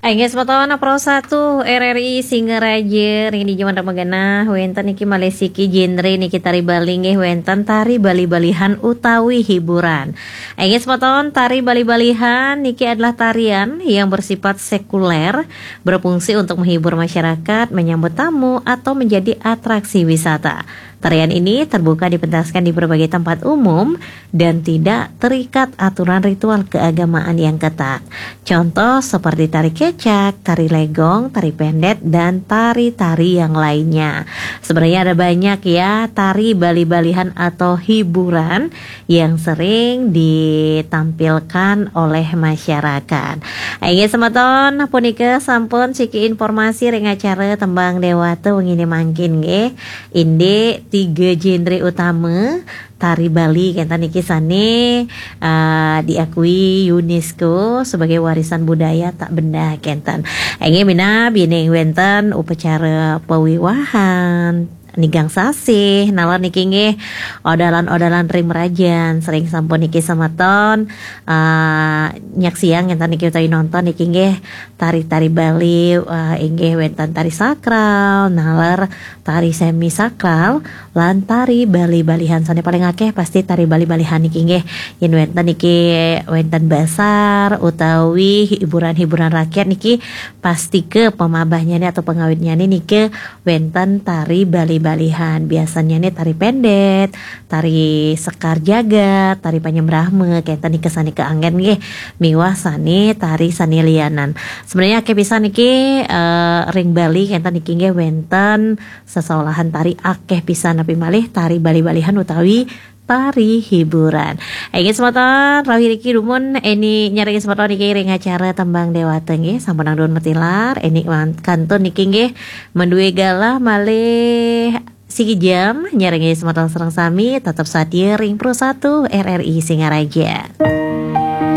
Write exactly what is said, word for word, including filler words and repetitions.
Inggih semeton, Pro satu R R I Singaraja, ring di jaman ramagenah wenten niki malih siki genre niki tari Bali nggih, wenten tari bali-balihan utawi hiburan. Inggih semeton, tari bali-balihan niki adalah tarian yang bersifat sekuler, berfungsi untuk menghibur masyarakat, menyambut tamu, atau menjadi atraksi wisata. Tarian ini terbuka dipentaskan di berbagai tempat umum dan tidak terikat aturan ritual keagamaan yang ketat. Contoh seperti tari kecak, tari legong, tari pendet, dan tari-tari yang lainnya. Sebenarnya ada banyak ya tari bali-balihan atau hiburan yang sering ditampilkan oleh masyarakat. Inggih semeton, punika sampun siki informasi ring acara Tembang Dewata wengi mangkin nggih. Indik tiga genre utama tari Bali kenten niki sane, eh, diakui UNESCO sebagai warisan budaya tak benda kenten. Inggih minab yening wenten upacara pawiwahan, nigang sasih, naler niki nggih odalan-odalan ring merajan, sering sampun niki semeton, eh, nyaksiang kenten niki utawi nonton niki nggih tari-tari Bali, eh, inggih wenten tari sakral, naler tari semi sakral, lan tari bali-balihan. Sane paling akeh pasti tari bali-balihan niki nggih. Yen wenten niki wenten basar utawi hiburan-hiburan rakyat niki, pasti ke pamabahnyane atau pengawitnyane niki wenten tari bali-balihan. Biasanyane tari pendet, tari sekar jagat, tari panyembrahma, kenten niki sane kaanggen nggih. Miwah sane tari sane lianan. Sebenarnya akeh pisan niki, eh, ring Bali kenten niki nggih wenten sesolahan tari akeh pisan, napi malih tari bali-balihan utawi tari hiburan. Inggih semeton, rauh niki dumun eni nyarengin semeton niki ring acara Tembang Dewata nggih, sampun nang dumun matilar, eni wan-, kantun niki nggih, mendue galah malih siki jam nyarengin semeton sareng sami, tetep satia ring Pro satu R R I Singaraja.